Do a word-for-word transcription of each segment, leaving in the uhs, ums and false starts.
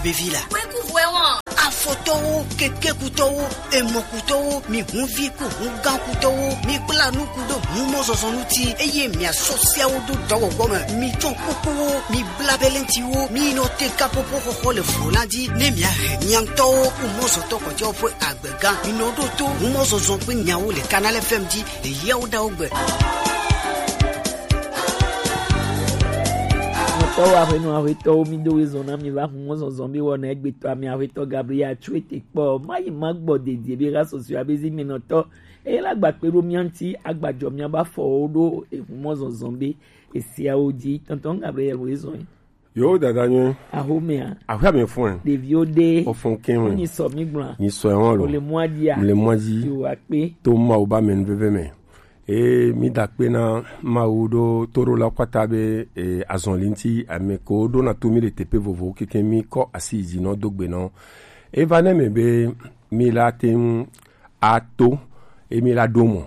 Vevi la. Kweku hwe wɔn. Afɔtɔwo, kekekutɔwo, emɔkutɔwo, mi hunvi ku hungãkutɔwo, mi kpla nuku ɖo humɔzɔzɔ ŋuti, eye miasɔ seawo ɖo dɔwɔwɔ me. Mi tsɔ kukuwo, mi bla belentiwo, mi nɔ te kapopo xɔxɔ le vo la dzi, ne miahe mia ŋutɔwo ku mɔzɔtɔ kpɔtɔewo ƒe agbega. Mi nɔ ɖo to humɔzɔzɔ ƒe nyawo le Canal F M dzi le Yawoɖawo gbe. Nɔtɔwo, aƒenɔ, aƒetɔwo, mi do wezɔn na mi va hu mɔzɔzɔ be wɔna egbetɔ ame aƒetɔ Gabriel Atsuete kpɔ. Mayi magbɔ dedie be ha sɔsɔe abe zi mi nɔtɔ. Eye la gba kpe ɖo mia ŋuti, agba jɔ mia ba fɔwo ɖo ehu mɔzɔzɔ be esiawo dzi. Tɔntɔn Gabriel wo ezɔn. Yo, dada nyuie. Ahomea. Ahomea fun. Ɖeviwo ɖe. Ofun kɛn. Nyi sɔ mi gblɔ. Nyi sɔ ɛhɔn lo. Ole mɔa dzia. Le mɔa dzi. Yo akpe. To Mawu ba mɛ nuveve mɛ. Eye mi da akpe na Mawu ɖo toɖola kpata be, e, azɔli ŋuti ame ko ɖo na to mi le teƒe vovovowo keke mi kɔ asi yi dzi nɔ do gbe nɔ. Eva ne me be mi la te ŋu ato, emi la ɖo mɔ.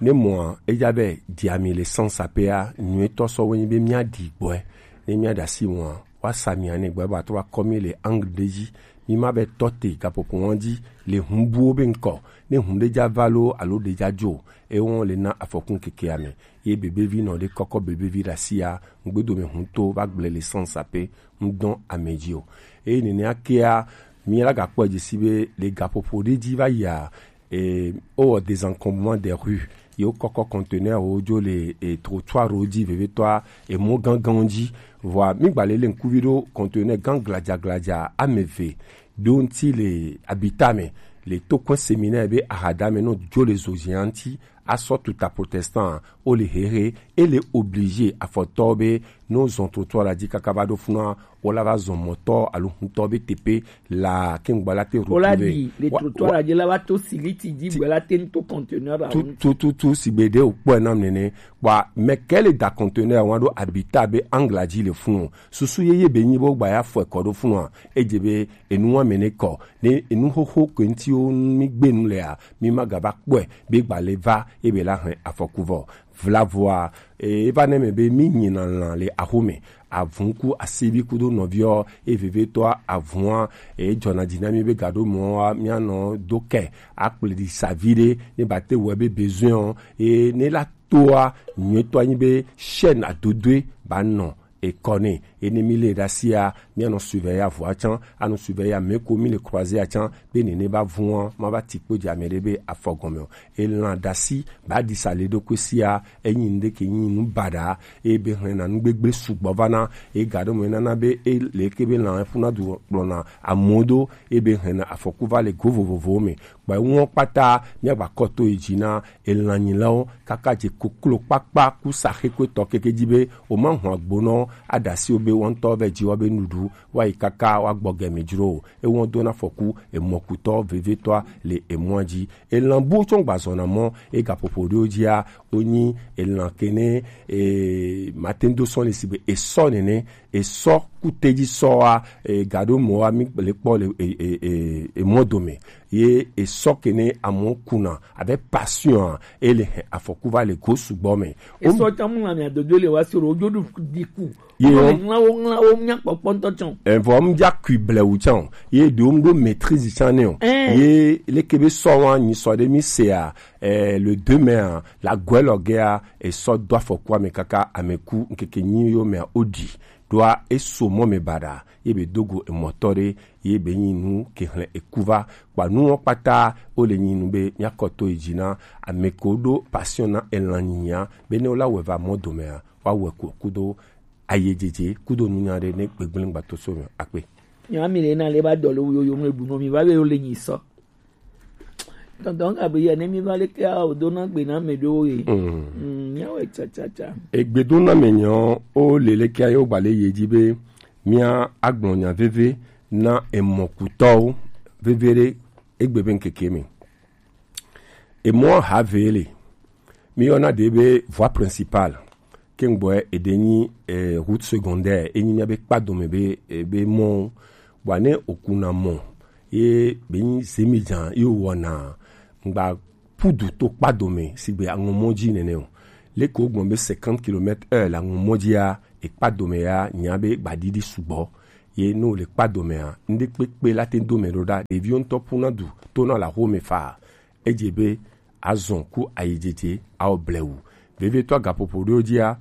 Ne mɔa, eja be diami le sans apea, nyuitɔ sɔ wo nyi be mia ɖi gbɔe. Ne mia ɖe asi mɔa, wa sa mia ne gbɔe ba trɔ akɔ mi le angle ɖe dzi. Mi ma be tɔ te gaƒoƒo wɔn dzi le hun buwo be ŋkɔ. Ne hun ɖe ja va lo alo ɖe ja dzo, e wɔn le na afɔkun keke ame. Ye bebevi nɔ ɖe kɔkɔ bebevi ɖe asia, ŋgbedo me hun to va gble le sans ape, ŋdɔn ame dzi o. Eye nene akea, mi la gakpɔ dzi si be le gaƒoƒo ɖe dzi va yia, e, wowɔ désencombrement des rues. Ye wokɔkɔ conteneur wo dzo le, e, trottoir wo dzi vevitɔa, e, mɔ ganganwo dzi. Vɔa, mi gba le le ŋkuvi ɖo conteneur gan gladza gladza ame eve ɖo ŋuti le abita me, le tokɔe séminaire be ahada me no dzo le zozia ŋuti, asɔ tuta protestant, wo le hehe, e le obligé afɔtɔ be no zɔn trottoir la dzi kaka va ɖo funua, wo la va zɔn mɔtɔ alo huntɔ be teƒe la, ke ŋgba la te retrouver. Wo la ɖi le trottoir la dzi la va to siliti dzi gbe la te ŋu to conteneur la ŋu. Tututu si be ɖe wokpɔe nam nene. Kpɔa, mɛ ke le da conteneur wa ɖo abita be angla dzi le fun o. Susu yeye be nyi bo gba ya fɔe kɔ ɖo funua. Edze be enu wa mɛ ne kɔ. Ne enu xoxo ke ŋuti wo mi gbe nu lea, mi ma gava kpɔe be gba le va ebe la hɛn afɔku vɔ. Vlavoa, e, eva ne me be mi nyina lan le axome. Avun ku asivi kudo nɔviɔ, e vevetɔa avua, e jɔna dzi na mi be gaɖo mɔa, mianɔ do kɛ, akple ɖi savi ɖe, ne ba te wɔ be besoin o, e ne la toa, nyuitɔ anyi be chaîne adodoe ba nɔ ekɔ ne. Ene mi le ɖe asia, mianɔ surveiller avua tsã, anɔ surveiller ame ko mi le croiser a tsã, be nene ba vua, ma va ti kpo dzi ame ɖe be afɔ gɔme o. Elã ɖasi ba ɖi sa le ɖokui sia, enyi nu ɖe ke nyi nu baɖa, eye be hlɛna nu gbegble sugbɔ va na, eye ga ɖe me nana be e le ke be lã ƒuna du kplɔna amewo do, eye be hlɛna afɔku va le go vovovowo me. Kpɔe ŋuɔ kpata, míagba kɔ to yi dzi na elãnyilawo, kaka dze koklo kpakpa ku saxekpetɔ keke dzi be, o ma hɔn agbonɔ, aɖe asi wo be, woantɔ vɛ dzi wa be nuɖu, wa yi kaka wa gbɔ gɛ mi dzro o. Ewɔn dona afɔku, emɔkutɔ, vevetɔa, le emɔa dzi. Elã buwo tsɔ gba zɔna mɔ, e gaƒoƒo ɖewo dzia, wonyi elã kene, e, mate ŋu do sɔ le si be, esɔ nene, esɔ kutedzi sɔa, e, gaɖo mɔa, mi le kpɔ le, e, e, e, emɔ dome. Ye esɔ kene amewo kuna abe passion a, ele he afɔku va le go sugbɔ me. Esɔ tsa mu lã mia dodo le wa soro, ojo ɖu ɖi ku. Ye wo ŋlawo, ŋlawo mia kpɔkpɔ ŋutɔ tsã o. Evɔ mu dza kui blewu tsã o. Ye ɖewo mu ɖo maîtrise tsã ne o. Ɛɛ. Ye leke be sɔ wa nyi sɔ ɖe mi sea, eh, le deux mai a, la gɔe lɔ gea, esɔ do afɔku ame kaka ame ku ŋkeke nyi yo mea o ɖi. Ɖoa eso mɔ me baɖa, ye be dogo emɔtɔ ɖe, ye be nyi nu ke hlẽ eku va. Kpa nuwo kpata, wo le nyi nu be míakɔ to yi dzi na ame ko ɖo passion na elã nyinyia, be ne wo la wɔ va mɔ domea, wa wɔ ko kudo ayedzedze, kudo nunya ɖe ne gbegblẽ gbato so me akpe. Nyami le na le ba dɔ le wo yo yo mle bu no mi va be wo le nyi sɔ. Tɔntɔn Gabriel, ne mi va leke a o do na gbe na me ɖewo ye. Mm. Mm, míawo tsatsa. Egbe do na me nyɔ, o le leke a yo gba le ye dzi be mía agblɔ nya veve na emɔkutɔwo veve ɖe egbe be ŋkeke me. Emɔ ha ve le. Mi yɔna ɖe be voie principale. Kengboe eɖe nyi, eh, route secondaire, enyi mía be kpadome be, eh, be mɔ. Bua ne okuna mɔ, ye be nyi zemidzan, ye wɔna, ŋgba pudu to kpadome, sigbe aŋɔmɔ dzi nene o. Leke wogbɔn be cinquante kilomètres heure le aŋɔmɔ dzia, ekpadome ya, nya be gbaɖiɖi sugbɔ. Ye ne wòle kpa domea, ŋɖekpekpe la te do mɛ ɖo ɖa. Ɖeviwo ŋutɔ ƒuna du tona le axome faa. Edze be azɔn ku ayidzedze awɔ blewu. Vevitɔ gaƒoƒo ɖewo dzia,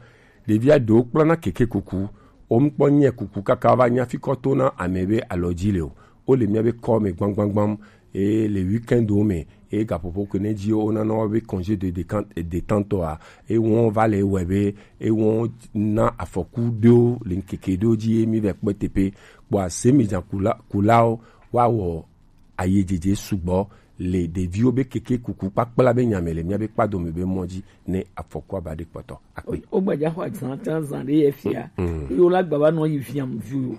ɖevia ɖewo kplɔna keke kuku. Womkpɔ nyɛ kuku kaka va nya fikɔ tona ame be alɔ dzi le o. Wole míabe kɔ me gbamgbamgbam. Eye le weekend wo me, eye gaƒoƒo ke ne dzi wona na wo be congé de décan-, détente a, eye wɔn va le wɔe be, eye wɔn na afɔku ɖewo le ŋkeke ɖewo dzi, eye mi va kpɔe teƒe. Kpɔ ase mi dza kula, kulawo, woawɔ ayidzedze sugbɔ le ɖeviwo be keke kuku kpakpla be nya me le míabe kpadome be mɔ dzi ne afɔkua va ɖe kpɔtɔ. Akpe. Wogbaja xɔ azã tsa zã ɖe ye fia. Mm. Eye wola gba va nɔ yi viam viwo.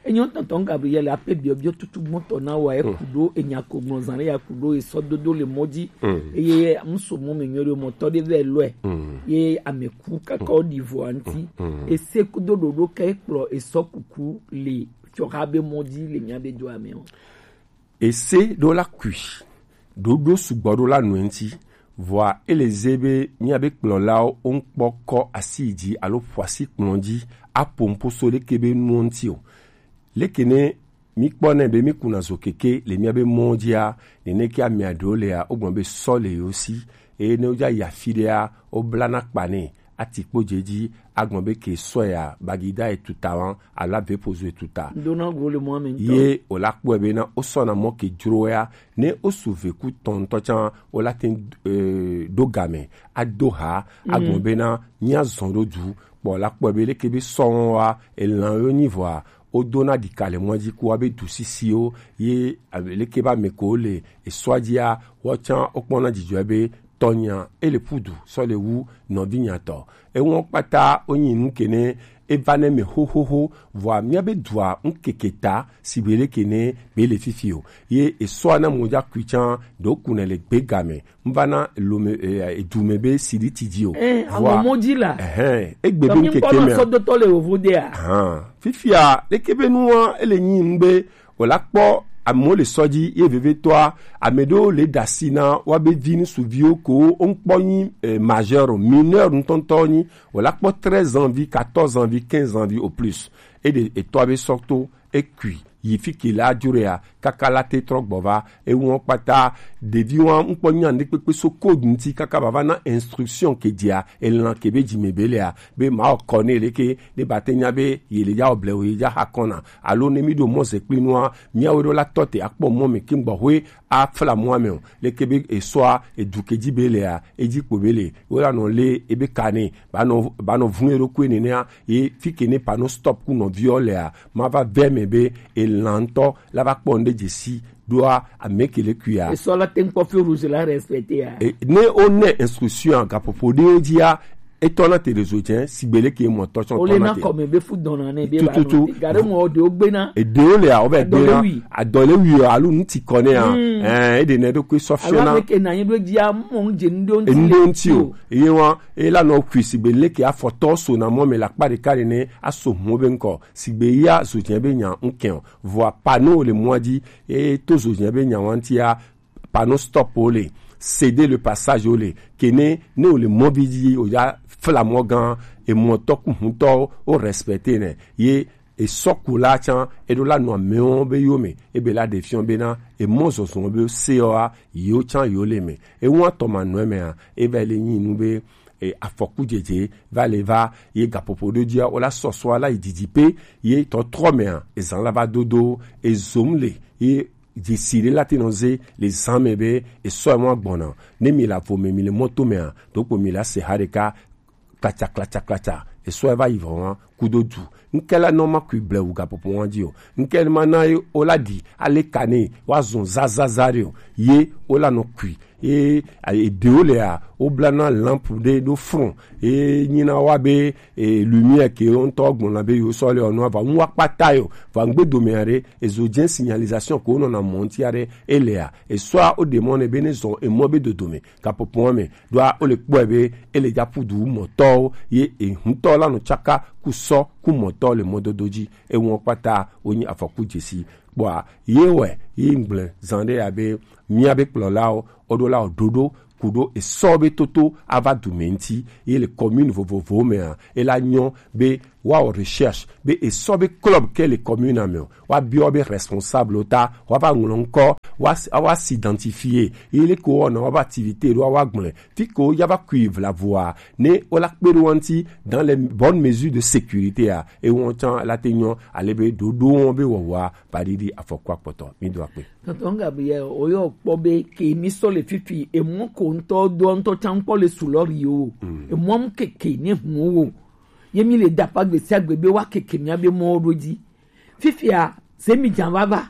Enyo tɔntɔn Gabriel ape biɔbiɔ tutu gbɔtɔ na wa, eku ɖo enya ko gblɔ zã ɖe ya ku ɖo esɔ dodo le mɔ dzi. Mm. Eye muso mɔ me nyɔ ɖe mɔtɔ ɖe vɛ lɔe. Mm. Ye ame ku kaka wo ɖi vɔ anti. Mm. Ese kudo ɖoɖo ke kplɔ esɔ kuku le fiɔha be mɔ dzi le mía be do ame o. Ese ɖo la kui, ɖoɖo sugbɔ ɖo la nɔe ŋuti, vɔa ele ze be míabe kplɔlawo woŋkpɔ kɔ asi yi dzi alo ƒo asi kplɔ dzi aƒo nuƒo so leke be nuwo ŋuti o. Leke ne míkpɔnɛ be míkuna zo keke le míabe mɔwo dzia, neneke amea ɖewo lea, wogblɔ be sɔ le yewo si, eye ne wodza yi afi ɖea, woblana kpa nɛ, ati kpo dze edzi, agblɔ be ke sɔ ya, bagida etuta wan, alo avepozo etuta. Dona go le mɔ me ŋutɔ. Ye wòla kpɔe bena wosɔna mɔ ke dzro ya, ne wosu veku tɔn ŋutɔ tsã, wola te ŋu, eh, ɖo game, ado ha, agblɔ bena míazɔ ɖo du, kpɔ la kpɔe be leke be sɔ wɔn wa, elãwo nyi vɔa, wodona ɖika le mɔa dzi ku wa be du sisiwo, ye, eh, leke be ame ko le esɔa dzia, woawo tsã wokpɔna dzidzɔe be tɔnyea, ele ƒu du sɔ le wu nɔvinyea tɔ. Enuwo kpata wonyi nu ke ne eva ne me xoxoxo, vɔa míabe dua ŋkeke ta sigbe leke ne be le fifi o. Ye esɔa na mo dza kui tsã, ɖewo kunɛ le gbe game, ŋva na lome, eh, edu me be siɖi ti dzi o. Eh, vɔa, awo mo dzi la. Ehɛn, egbe be ŋkeke mea. Sɔdotɔ le wovo dea. Ahan, fifia, leke be nua, ele nyi nu be wòla kpɔ amewo le sɔ dzi ye vevietɔa, ame ɖewo le ɖe asi na woabe vi ŋutsuviwo ko woŋkpɔ nyi, eh, majeur o, mineur ŋutɔŋutɔ nyi, wòla kpɔ treize ans vi, quatorze ans vi, quinze ans vi au plus. Eɖe etɔa be sɔ to, ekui, yi fi ke la dzro ya, kaka la te trɔ gbɔ va, enuwo kpata, ɖeviwo ŋkpɔ nya ŋɖekpekpe so code ŋuti kaka bava na instruction ke dzia, elã ke be dzime be lea, be mawɔ kɔ nɛ leke, ne ba te nya be ye le dza wɔ blewu, ye dza xa kɔna, alo ne mi ɖo mɔ ze kpli nua, miawo ɖo la tɔ te akpɔ mɔ me ke gbɔxwe afla mɔa me o. Leke be esɔa, edu ke dzi be lea, edzi kpo be le, wo la nɔ le ebe ka nɛ, ba nɔ, ba nɔ vun eɖokui nenea, ye fi ke ne panneau stop ku nɔviɔ lea, ma va vɛ me be elã ŋutɔ la va kpɔ ŋɖe dzesi ɖoa ame ke le kuia. Esɔ la te ŋkpɔ feu rouge la respecté ya. E, ne o ne instruction gaƒoƒo ɖewo dzia, etɔ na te ɖe zo dze, sigbe leke mɔ tɔ tsɔ tɔ na te. Ole na kɔme be fu dɔna ne be ba tututu. Gare mɔ ɖewo gbe na. Eɖewo le awo be gbe na. Adɔ le wi alo ŋuti kɔ ne ya. Mm. Eh, eɖe ne ɖo kue sɔ fiɔ na. Alo ame ke na nyi ɖo dzia mɔ ŋdze ŋɖo ŋti. Ŋɖo ŋti o. Eye wa, e la nɔ kui sigbe leke afɔtɔ so na mɔ me la kpa ɖeka ɖe ne aso mɔ be ŋkɔ. Sigbe ya zo dze be nya ŋkɛ o. Vɔa panneau le mɔa dzi, e to zo dze be nya wa ŋtia, panneau stop wo le, céder le passage wo le, ke ne, ne wo le mɔvi dzi, o ya fla mɔ gã, emɔtɔ ku hutɔ, o respecter nɛ, ye esɔkula tsã, eɖo la nɔ amewo be yo me, ebe la ɖe fiɔ bena, emɔ zɔzɔ be se wa, yo tsã yo le me. Ewa tɔ ma nɔ me a, e va le nyi nu be, e, afɔku dzedze, va le va, ye gaƒoƒo ɖo dzia, o la sɔsɔ la yi didi pe, ye tɔtrɔ me a, ezan la va dodo, ezom le, ye dzesi ɖe la te nɔ ze le zã me be esɔ emɔ agbɔna. Ne mi le avo me, mi le mɔto mea, ɖokpo mi le ase ha ɖeka klatsa klatsa klatsa, esɔ eva yi vɔ wa kudo du. Ŋke la nɔ ma kui blewu gaƒoƒo wa dzi o. Ŋke ma na ye o la ɖi ale ka ne wa zɔn zazaza ɖe o. Ye o la nɔ kui. Ye, a, eɖewo lea, woblana lampe ɖe ɖo front. Ye nyina wa be, e, lumière ke wo ŋutɔ gblɔna be yewo sɔ le ɔnua va ŋu wa kpata yo. Va ŋgbe dome aɖe, ezo dze signalisation ko wonɔna mɔ ŋuti aɖe, elea, esɔa woɖe mɔ nɛ be ne zɔ emɔ be dodome, gaƒoƒoa me, ɖoa wole kpɔe be ele dza ƒu du mɔtɔwo, ye ehutɔ la nɔ tsaka ku sɔ ku mɔtɔ le mɔdodo dzi. Ewo kpata wonyi afɔku dzesi. Kpɔa, ye wɛ, ye ŋgble zã ɖe ya be, míabe kplɔlawo, woɖo la wo ɖoɖo, kuɖo esɔ be toto ava du mɛ ŋuti, ye le commune vovovowo mɛa, ela nyɔ be woawɔ recherche be esɔ be club ke le commune mɛ o, woabiɔ be responsable ta, woava ŋlɔ ŋkɔ, woa, woa s'identifier, ye leke wowɔna woabe activité ɖo, woagblɔe, fi ke woya va kui vlavoa, ne wola kpe ɖe wo ŋuti dans les bonnes mesures de sécurité a, ewɔn tsã la te nyɔ ale be ɖoɖo wɔn be wɔwɔa va ɖiɖi afɔku akpɔtɔ. Mi do akpe. Tonton Gabriel, oyɔ kpɔ be ke mi sɔ le fifi, emɔ ko ŋutɔ do ŋutɔ tsã kpɔ le sulɔri o. Mm. Emɔ mu keke ne hu wo. Ye mi le da pa gbesiagbe be wa keke mia be mɔ ɖo dzi. Fifia, se mi dza vava.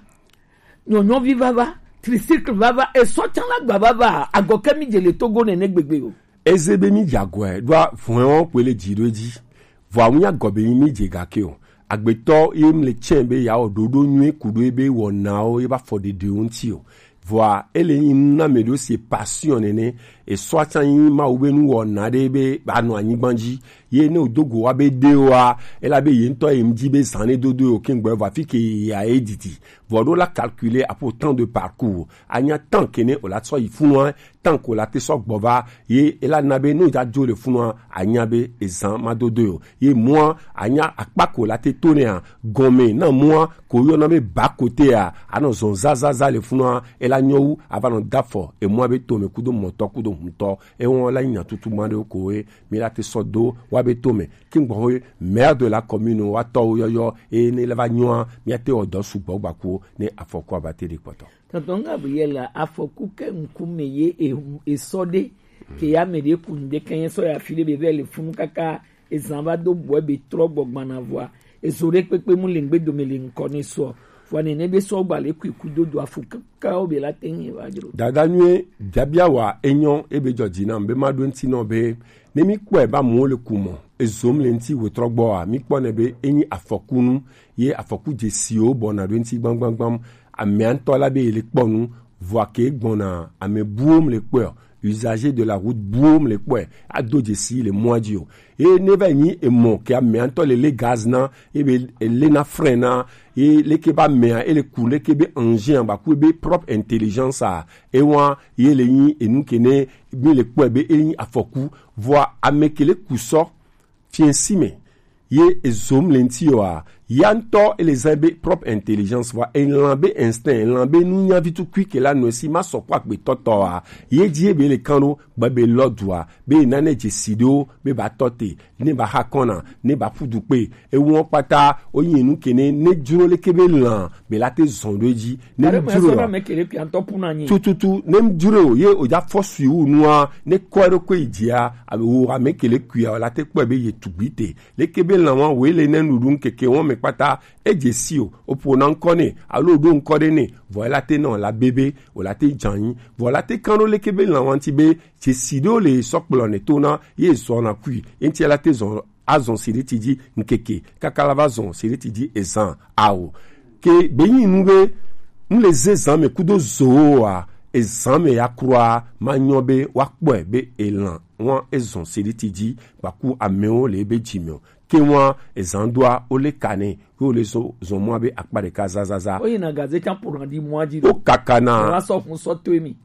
Nyɔnyɔvi vava, tricycle vava, esɔ tsã la gba vava, agɔke mi dze le Togo nene gbegbe o. Eze be mi dze agɔe ɖoa vɔɛwo kpe le dzi ɖo edzi. Vɔa ŋu nya gɔ be mi dze gake o. Agbetɔ ye mi le tsɛ be ya wɔ ɖoɖo nyui kuɖo ebe wɔnawo ye ba fɔ ɖeɖewo ŋuti o. Vɔa ele nyi nu na me ɖo si passion nene. Esɔ tsã nyi Mawu be nu wɔna ɖe be ba nɔ anyigba dzi. Ye ne o do go wa be ɖe wa, ela be ye ŋutɔ ye ŋdi be zan ne dodo yo ke ŋgbɛ vɔ afi ke ya ye didi. Vɔ ɖo la calculer apo temps de parcours. Anya temps kene o la sɔ yi funu, temps ko la te sɔ gbɔ va, ye ela na be no ja jo le funu, anya be ezan ma dodo yo. Ye mua, anya akpa ko la te to ne a, gɔme na mua, ko yɔ na be ba kote a, anɔ zɔn zazaza le funu, ela nyɔ wu, ava nɔ dafɔ, emua be to me kudo mɔtɔ, kudo huntɔ, ewɔn la nya tutu ma ɖe ko ye, mi la te sɔ do, wa be to me, Kingbohoe, maire de la commune, wa tɔwo yɔyɔ, eye ne leva nyɔa, míate wɔ dɔ sugbɔ gbakuwo ne afɔku abate ɖe kpɔtɔ. Tonton Gabriel, afɔku ke ŋkume ye e-, esɔ ɖe, ke ya me ɖe ku ŋde ke nye sɔ ya fi ɖe be vɛ le funu kaka ezan va do bɔe be trɔ gbɔ gbana vɔa, ezo ɖe kpekpe mu le ŋgbe dome le ŋkɔ ne sɔ, vɔa nene be sɔ gba le kui kudo do afɔku kakawo be la te ŋu va dzro. Dada nyuie, biabia wa enyɔ ebe dzɔ dzi nam be ma ɖo ŋuti nɔ be Ne mí kpɔe be amewo le ku mɔ, ezom le ŋuti wetrɔgbɔa, mí kpɔnɛ be enyi afɔkunu, ye afɔku dzesiwo bɔna ɖo ŋuti gbamgbamgbam. Amea ŋutɔ la be ye le kpɔ nu, vɔa ke gbɔna ame buwo mu le kpɔe o, usager de la route buwo mu le kpɔe, ado dzesi le mɔa dzi o. Ye ne va nyi emɔ ke amea ŋutɔ le le gaz na, ebe ele na frein na, ye leke be amea ele ku leke be engin a ba ku be propre intelligence a, ewa ye le nyi enu ke ne mi le kpɔe be enyi afɔku, vɔa ame ke le ku sɔ fiɛsi me ye ezom le ŋuti yɔa, ya ŋutɔ ele zã be propre intelligence, vɔa elã be instinct, elã be nunya vi tukui ke la nɔ esi ma sɔ kpɔ agbetɔtɔa, ye dzi ebe le kan ɖo gbe be lɔ dua, be nane dzesi ɖewo be ba tɔ te, ne ba ha kɔna, ne ba ƒu du kpe, ewɔ kpata wonyi nu ke ne, ne dzro leke be lã be la te zɔn ɖo edzi, ne dzro yɔ tututu ne dzro ye o ja fɔ sui wu nua, ne kɔ ɖo ko yi dzia, ame wo ame ke le kuia la te kpɔe be ye tugbi te, leke be lã wa wo le ne nuɖu keke wɔn me kpata, edze si o, o ƒo na ŋkɔ ne, alo ɖo ŋkɔ ɖe ne, vɔ la te nɔ la bebe, o la te dzanyi, vɔ la te kan ɖo leke be lã wa ŋuti be, dzesi ɖewo le sɔ kplɔ ne to na ye zɔna kui, eŋti la te zɔn azɔn siriti dzi ŋkeke kaka la va zɔn siriti dzi ezan awo. Ke be nyi nu be nu le ze zan me kudo zowoa, ezan me ya kura ma nyɔ be wa kpɔe be elan wa ezɔn siriti dzi gbaku amewo le ebe dzi me o. Ke wa ezan doa o le ka ne ke o le zɔn zɔn mɔ be akpa ɖeka zazaza. O yina gaze can pour di mɔ dzi. O kaka na. Wa sɔ kun sɔ to mi.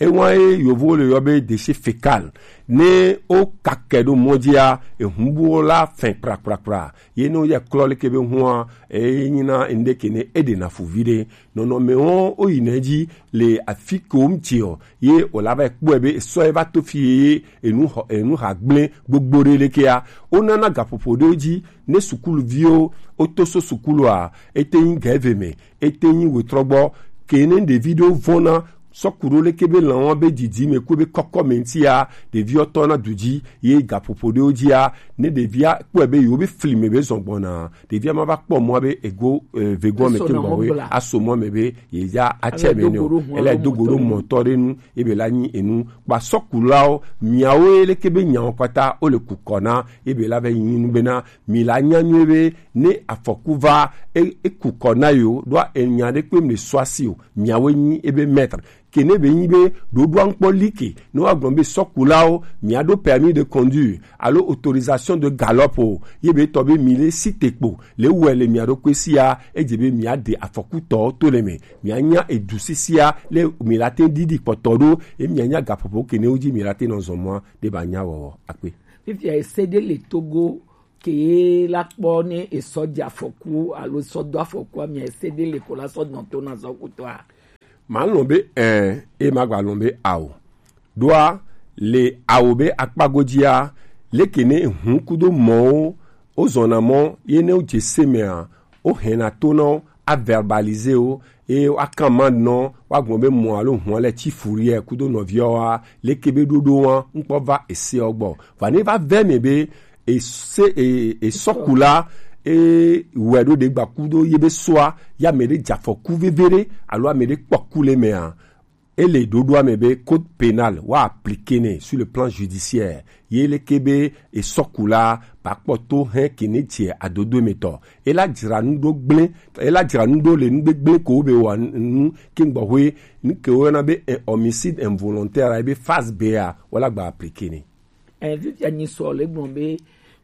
Ewa ye yovo le yɔ be déchet fécal. Ne o kakɛ ɖo mɔ dzia, ehun buwo la fɛn kprakprakpra. Ye ne o yɛ klɔ leke be hua, e nyina ende ke ne e ɖe na fu vi ɖe. Nɔnɔme wo o yi ne dzi le afi ke wo ŋuti o. Ye o la va kpɔe be esɔ ye va to fi ye enu xɔ, enu ha gblẽ gbogbo ɖe lekea. O nana gaƒoƒo ɖe dzi ne sukuluviwo o to so sukulua, e te nyi gɛve me, e te nyi wetrɔgbɔ, ke ne ɖevi ɖewo vɔna sɔ ku ɖo leke be lãwo be didi me ku be kɔkɔ me ŋutia, ɖeviwo tɔ na du dzi ye gaƒoƒo ɖewo dzia, ne ɖevia kpɔe be yewo be fli me be zɔn gbɔna, ɖevia ma va kpɔ mɔa be ego, eh, vegoa me ke gbɔ we aso mɔ me be ye ya atsɛ me ne o, ele do go ɖo mɔtɔ ɖe nu, ebe la nyi enu kpa sɔkulawo, miawo ye leke be nyawo kpata o le ku kɔ na, ebe la be nyi nu bena mi la nya nyuie be ne afɔku va, e, e ku kɔ na yo, ɖoa enya ɖe kpe mi le sɔ asi o, miawoe nyi ebe maître. Ke ne be nyi be ɖoɖoa ŋkpɔ like ne woagblɔ be sɔkulawo miaɖo permis de conduire alo autorisation de galop o, ye be tɔ be mi le si te kpo le wɛ le mia ɖokui sia, edze be miaɖe afɔkutɔwo to le me, mianya edu sisia le mi la te ɖiɖi kpɔtɔ ɖo, ye mianya gaƒoƒo ke ne wo dzi mi la te nɔ zɔn mɔa ɖe ba nya wɔwɔ akpe. Fifia ese ɖe le Togo ke la kpɔ ne esɔ dze afɔku alo sɔ do afɔkua mia ese ɖe le ko la sɔ nɔ to na zɔkutɔa. Malɔn be ɛɛ, e ma gba lɔn be ao. Ɖoa le awo be akpa godzia, leke ne hun kudo mɔwo wo zɔna mɔ ye ne wo dze se mea, wo hɛna to na wo, a verbaliser wo, eye wo akan ma nɔ, wo agblɔ be mɔ alo hun lɛ tsi furiɛ kudo nɔviɔ wa, leke be ɖoɖo wa ŋkpɔ va ese ɔ gbɔ. Va ne va vɛ me be ese e esɔkula e wɛ ɖo ɖe gba kudo ye be soa ya me ɖe dza fɔku veve ɖe alo ame ɖe kpɔ ku le mea, ele ɖoɖoa me be code pénal wa appliquer nɛ sur le plan judiciaire. Ye leke be esɔkula ba kpɔ to hɛn ke ne dze adodo me tɔ. Ela dzra nu ɖo gblẽ, ela dzra nu ɖo le nu gbegblẽ ko be wa nu ke gbɔ hoe nu ke wo yɔna be eh, homicide involontaire ebe phase B a wala gba appliquer nɛ. Eh, fifia nyi sɔ le gblɔ be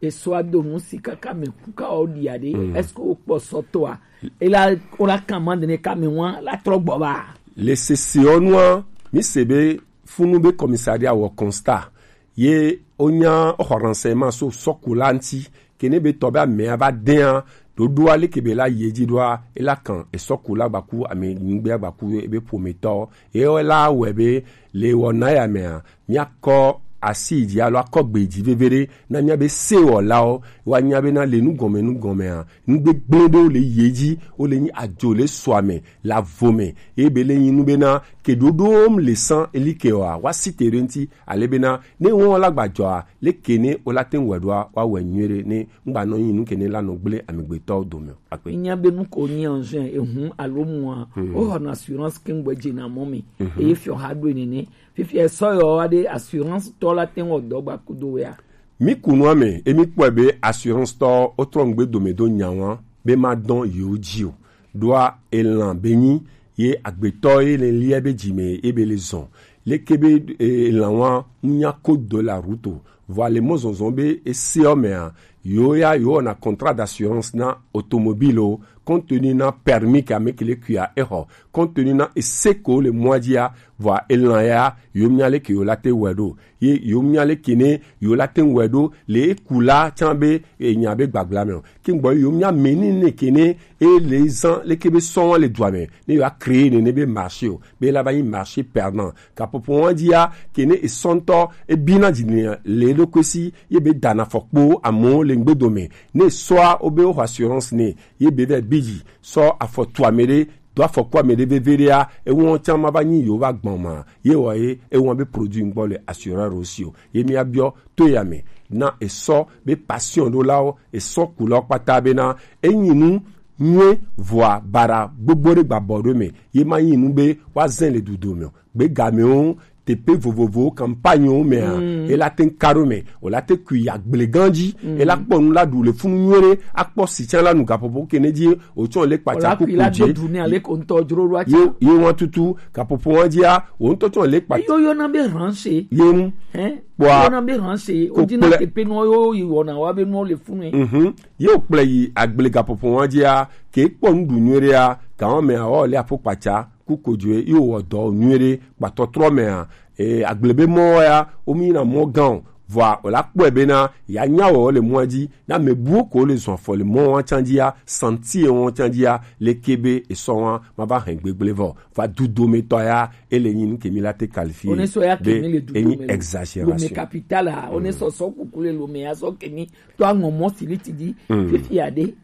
esɔa do nu si kaka me ku ka o ɖia ɖe, est-ce que wo kpɔ sɔtɔa? Ela wo la kan ma ɖe ne ka me wa la trɔ gbɔ ba. Le sese ɔ nua, mi se be funu be commissariat wɔ constat ye wonya xɔ renseignement so sɔkula ŋti ke ne be tɔ be amea va dea ɖoɖoa leke be la yi edzi ɖoa, ela kan esɔkula gbaku ame nyigbe gbaku ebe ƒometɔ ye la wɛ be le wɔna ya mea, miakɔ asi yi dzi alo akɔ gbe yi dzi veve ɖe na miabe sewɔlawo woanya bena le nugɔme nugɔmea, nugbegblẽ ɖewo le yi edzi, wole nyi adzo le sɔa me, le avo me, eye be le nyi nu bena ke ɖoɖom le san eli ke wa wa si te ɖe ŋti ale bena ne wɔn la gbadzɔa, leke ne wola te ŋu wɔ ɖoa woawɔe nyuie ɖe ne ŋgba nɔ nyi nu ke ne la nɔ gblẽ amegbetɔwo dome o. Akpe. Nya be nu ko nyi en juin ehun alo mua, woxɔna assurance ke ŋgbɛ dzena mɔ me. Eye fiɔ ha ɖo nene. Fifia esɔ yɔ wa ɖe assurance tɔ la te ŋu wɔ dɔ gba kudo wea. Mi ku nua me, emi kpɔe be assurance tɔ wotrɔ ŋgbe dome do nya wa be ma dɔn yewo dzi o. Ɖoa elan be nyi ye agbetɔ ye le lia be dzi me ye be le zɔn. Leke be elan wa ŋu nya code de la route o. Vɔ ale mɔ zɔnzɔn be eseɔ mea, yewo ya yewo wɔna contrat d'assurance na automobile o, compte tenu na permis ke ame ke le kuia exɔ, compte tenu na ese ko le mɔa dzia, vɔa elan ya yewo mia leke yewo la te wɔe ɖo. Ye yewo mia leke ne yewo la te wɔe ɖo le eku la tsã be enya be gbagbla me o. Ke ŋgbɔ yewo mia meni ne ke ne e le zan leke be sɔn wa le dua me ne yewo a créer ne ne be marché o, be la va nyi marché perdant. Gaƒoƒo wa dzia ke ne esɔntɔ ebina dzi ne le eɖokui si ye be dana fɔkpo amewo le ŋgbedo me ne sɔa wo be wo xɔ assurance ne ye be vɛ bi dzi sɔ afɔ tu ame ɖe do afɔku ame ɖe veve ɖea, ewɔn tsã ma va nyi yewo va gbɔn ma ye wɔ ye ewɔn be produit ŋgbɔ le assureur o si o. Ye mia biɔ to ya me na esɔ be passion ɖo lawo esɔ ku lawo kpata be na enyi nu nyuie vɔa bara gbogbo ɖe gba bɔ ɖo me ye ma nyi nu be wa zɛn le dudo me o. Gbegamewo teƒe vovovowo campagnewo mea, mm, ela te ŋu ka ɖo me, wòla te kui yi agble gã dzi, mm, ela kpɔ nu la ɖu le funu nyuie ɖe, akpɔ si tsã la nu gaƒoƒo ke ne dzi wòtsɔ le kpatsa wòla kui kuku la dze. Do du ne ale ko ŋutɔ dzro ɖo atsa. Ye, ye wa tutu gaƒoƒo wa dzia, wò ŋutɔ tsɔ le kpatsa. Yo yɔna be ranche. Ye ŋu. Hein? Kpɔa. Yɔna be ranche. Ko wodina kple teƒe nɔ yo yi wɔna wa be nɔ le funu. Mhm. Ye wòkplɔe yi agble gaƒoƒo wa dzia, ke kpɔ nu ɖu nyuie ɖea, gawo mea, wɔ le aƒo kpatsa. Ku kojoe ye wowɔ dɔ nyuie ɖe kpatɔtrɔ mea, e, agble be mɔ ya wo mi na mɔ gã o. Vɔa wòla kpɔe bena ya nya wɔ le mɔa dzi na me buwo ko le zɔn afɔ le mɔ wa tsã dzia, santi ye wɔn tsã dzia, leke be esɔ wa ma va hɛn gbegble vɔ. Va dudometɔ ya ele nyi nu ke mi la te qualifier be enyi exagération. Lome capital a, one sɔsɔ kuku le lome ya sɔ ke mi to aŋɔ mɔ siliti dzi, mm, fifi aɖe.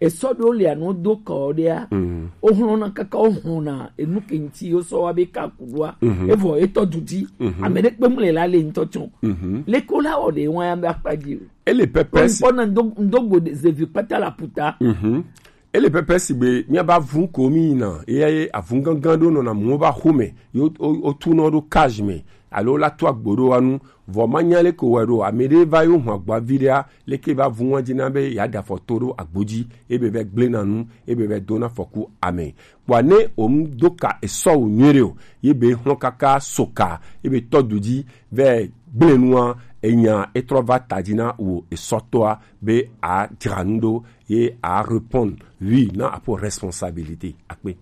Esɔ ɖewo lia, ne wodo kɔ ɖea, mm, wohlɔ̃na kaka wohlɔ̃na enu ke ŋuti wosɔ wa be ka ku ɖoa, mhm, evɔ etɔ du dzi. Mhm. Ame ɖe kpe mu le la le ŋutɔ tsɔ. Mhm. Leke wola wɔ ɖe wa ya be akpa dzi o. Ele pɛpɛ si. Kpɔ na ŋdo, ŋdo go zevi kpata la puta. Mhm. Ele pɛpɛ si be mía ba vun ko mi yina, eye avun gangan ɖo nɔna mu ba xome, yo, o, o tu nɔ ɖo cage me. alo la to agbo ɖo wa nu, vɔ ma nya leke wɔ ɖo, ame ɖe va yo hɔn agbo avi ɖea, leke va vu ŋɔdzi na be ya ɖe afɔ to ɖo agbo dzi, ebe vɛ gble na nu, ebe vɛ do na afɔku ame. Kpɔa ne o mu do ka esɔ wo nyuie ɖe o, ye be hlɔn kaka so ka, ye be tɔ du dzi vɛ gble nua, enya e trɔ va ta dzi na wo esɔtɔa be a dzra nu ɖo, ye a répondre oui na apo responsabilité akpe.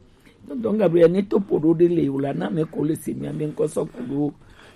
Donc, Gabriel, ne to poɖo ɖe le o la, na me ko le se mia be ŋkɔ sɔ kuɖo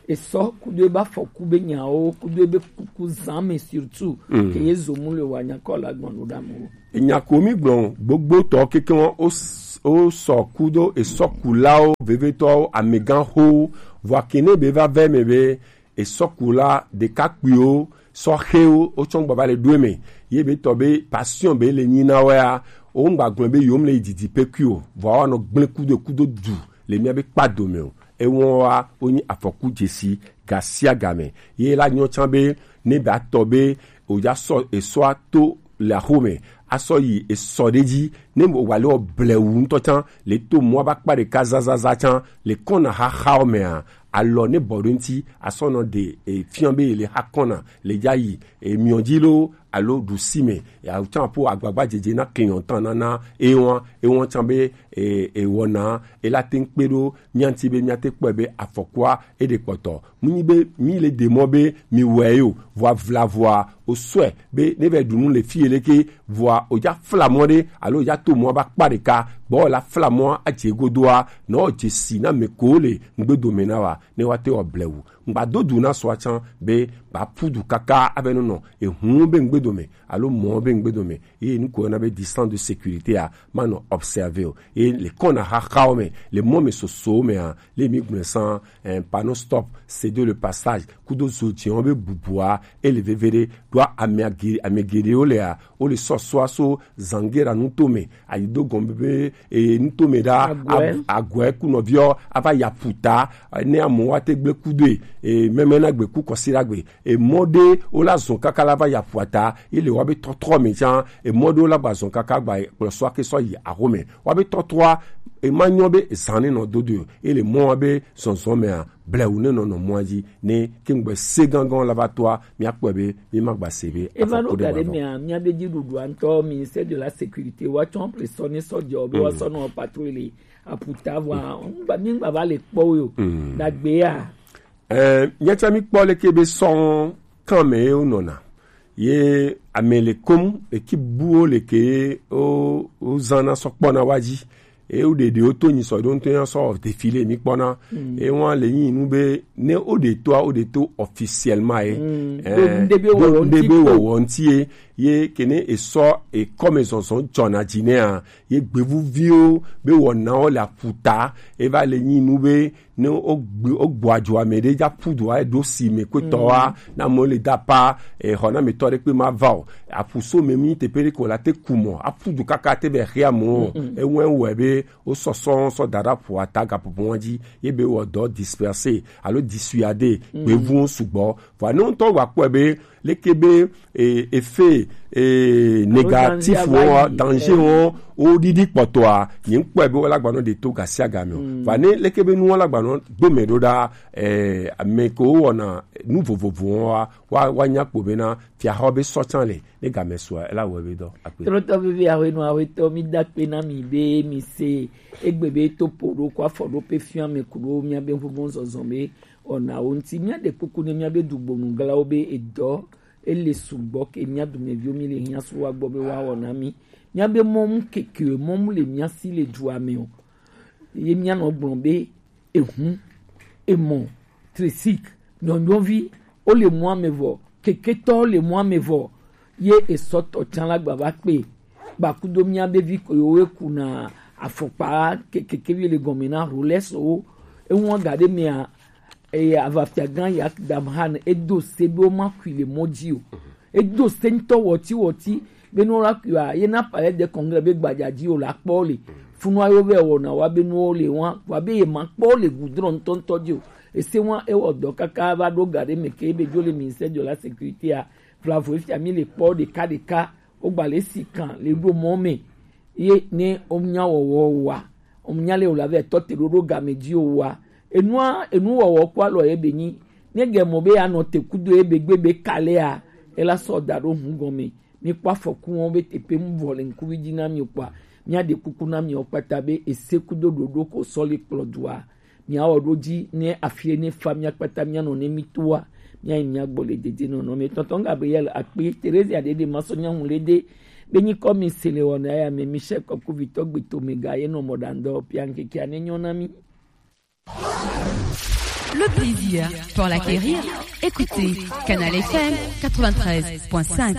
esɔ kudo ebe afɔku be nyawo kudo ebe kuku zan me surtout ke ye zo mu le wa nya kɔ la gbɔn ɖo ɖa mo. Enya ko mi gblɔ gbogbo tɔ keke wɔn o s- o sɔ kudo esɔkulawo vevetɔwo amegan ho vɔ akene be va vɛ me be esɔkula ɖekakpuiwo sɔxewo wotsɔ ŋgba va le ɖo eme ye be tɔ be passion be le nyi na wɛa wo ŋgba gblɔ be yewom le yi didi pekui o vɔ awa nɔ gblẽ kudo kudo du le mía be kpa dome o ewɔn wa wo nyi afɔku dzesi gasiagame ye la nyɔ tsã be ne be atɔ be o ya sɔ esɔa to le axome asɔ yi esɔ ɖe dzi ne wale wɔ blewu ŋutɔ tsã le to mɔa ba kpa ɖeka zazaza tsã le kɔna xaxawo mea alɔ ne bɔ ɖo ŋuti asɔ nɔ ɖe e, fiɔ be le xa kɔna le dza yi emiɔ dzi lo alo ɖusi me awo tsã ƒo agbagba dzedze na client tã nana ewɔn ewɔn tsã be e, ewɔna ela te ŋu kpe ɖo mía ŋuti be mía te kpɔe be afɔkua eɖe kpɔtɔ mu nyi be mi le de mɔ be mi wɔe yo vɔa vla vɔa o sɔe be ne vɛ ɖu nu le fi leke vɔa o dza fla mɔ ɖe alo o dza to mɔ ba kpa ɖeka gbɔ la fla mɔ adze godoa nɔ dze si na me ko le ŋgbedo me na wa ne wa te wɔ blewu ŋgba do du na sɔa tsã be ba pu du kaka abe nɔ nɔ ehun be ŋgbedo me alo mɔ be ŋgbedo me ye nu ko na be distance de sécurité a ma nɔ observer o ye le kɔna xaxawo me le mɔ me sosowo me a le mi gblẽ san eh, panneau stop céder le passage kudo zo dziwo be bubua ele veve ɖe ɖoa ame age- ame geɖewo lea wo le sɔsɔa so zangera nuto me ayi do gɔme be e nuto me ɖa Agɔe. Ag- agɔe ku nɔviɔ ava ya puta ne amewo ate gble kudoe e mɛmɛ na gbe ku kɔsi ɖa gbe emɔ ɖe wo la zɔn kaka la va ya puata ye le wa be tɔtrɔ me tsã emɔ ɖe wo la gba zɔn kaka gba kplɔ sɔ ake sɔ yi axome wa be tɔtrɔa ema nyɔ be zan ne nɔ dodo ye le mɔ wa be zɔnzɔn mea blewu ne nɔ nɔ mɔa dzi ne kengbe se gangan la va toa mía kpɔe be mi ma gba se be eva ɖo afɔku ɖe ga ɖe ma vɔ. Mea mía be dziɖuɖua ŋutɔ ministère de la sécurité wa tsɔ ple sɔ ne sɔ dze o be wa sɔ nɔ patrouille le aputa vɔa ŋgba mi ŋgba va le kpɔ wo yo dagbe ya Eh, míatsã míkpɔ leke be sɔn kan me ye wonɔna ye ame le kom eki buwo leke ye wo- wozãna sɔ kpɔna wa dzi ye woɖe ɖewo to nyi sɔ ɖo ŋutɔ ya sɔ défilé míkpɔna ye wọn le nyi nu be ne woɖe toa woɖe to officiellement ye Eh, ɖo ŋɖe be ɖo wɔwɔ ŋɖe ŋti be ko. Wɔwɔ ŋti ye ye kene esɔ ekɔme zɔzɔ dzɔna dzi nɛa ye gbevuviwo be wɔnawo le aputa eva le nyi nu be ne wogbe- wogbɔ adzo ame ɖe dza ƒu du aɖo si me kpetɔ wa na amewo le da pa exɔ na ametɔ ɖe kpe ma va o aƒu so me mi teƒe ɖe ko la te ku mɔ aƒu du kaka te be xia mo eŋu ewɔe be wo sɔsɔ sɔ da ɖe aƒua ta gaƒoƒo wa dzi ye be wɔ dɔ disperser alo dissuader gbevuwo sugbɔ vɔ ne ŋutɔ wa kpɔe be leke be e, effet e, négatif alo danger wɔn danger wɔn wo ɖiɖi kpɔtɔa nye ŋkpɔe be wala gbanɔ ɖe to gasiagame o va ne leke be nu wala gbanɔ gbome ɖo ɖa e, ame ko wɔna nu vovovo wɔn wa wa wa nya kpo be na fiaxɔ be sɔtsan le ne game sua ela wɔ be dɔ akpe. Trɔtɔ vivi ahoenu ahoetɔ mi da kpe na mi be mi se egbe be to po ɖo ko afɔ ɖo pe fia me ku ɖo mia be ŋuƒo zɔzɔ be wɔnawo ŋuti. Míaɖe kuku ne míabe dugbonuglawo be edɔ ele sugbɔ ke mía dumeviwo mi le hiã so wa gbɔ be woawɔ na mí. Míabe mɔnu keke mɔnu le mía si le dua me o. Ye míanɔ gblɔ be ehun, emɔ, trisik, nyɔnyɔvi, wo le mɔa me vɔ, keketɔ le mɔa me vɔ, ye esɔtɔ tsã la gba va kpe. Gbakudo míabe vi ko yewo kuna afɔkpa ke- kekevi le gɔme na Rolex wo. Eŋua ga ɖe mea eye avafia gã Yak Damhan edo se be woma kui le mɔ dzi o. Edo se ŋutɔ wɔti wɔti be ne wola kui a ye na palais de congrès be gbadza dzi o la kpɔ le. Funua yewo vɛ wɔna wa be nuwo le wa wa be ye ma kpɔ le goudron ŋutɔŋutɔ dzi o. Ese wa ewɔ dɔ kaka va ɖo ga ɖe me ke be dzo le ministère de la sécurité a vlavo efia mi le kpɔ ɖeka ɖeka wogba le si kan le ɖo mɔ me ye ne wonya wɔwɔ wa wonya le wòle avɛ tɔ te ɖoɖo game dzi o wa Enua enu wɔwɔ kpo alɔ ye be nyi. Ne ge mɔ be anɔ te kudo ye be gbe be kalea, ela sɔ da ɖo hun gɔme. Mi kpɔ afɔku wɔn be teƒe mu vɔ le ŋkuvi dzi na mi kpɔa, mia ɖe kuku na mi kpata be ese kudo ɖoɖo ko sɔ li kplɔ dua. Miawɔ ɖo dzi ne afie ne fa mia kpata mia nɔ ne mi toa, mia yi mia gbɔ le dede nɔnɔ me. Tɔntɔn Gabriel akpe Teresa ɖe ɖe ma sɔ nyaŋu le ɖe be nyi kɔ mi se le wɔna ya me mi sɛ kɔkuvitɔ gbetome ga ye nɔ mɔ ɖandɔ pia ŋkeke ane nyɔ na mi. Le plaisir pour l'acquérir, écoutez Canal F M quatre-vingt-treize point cinq.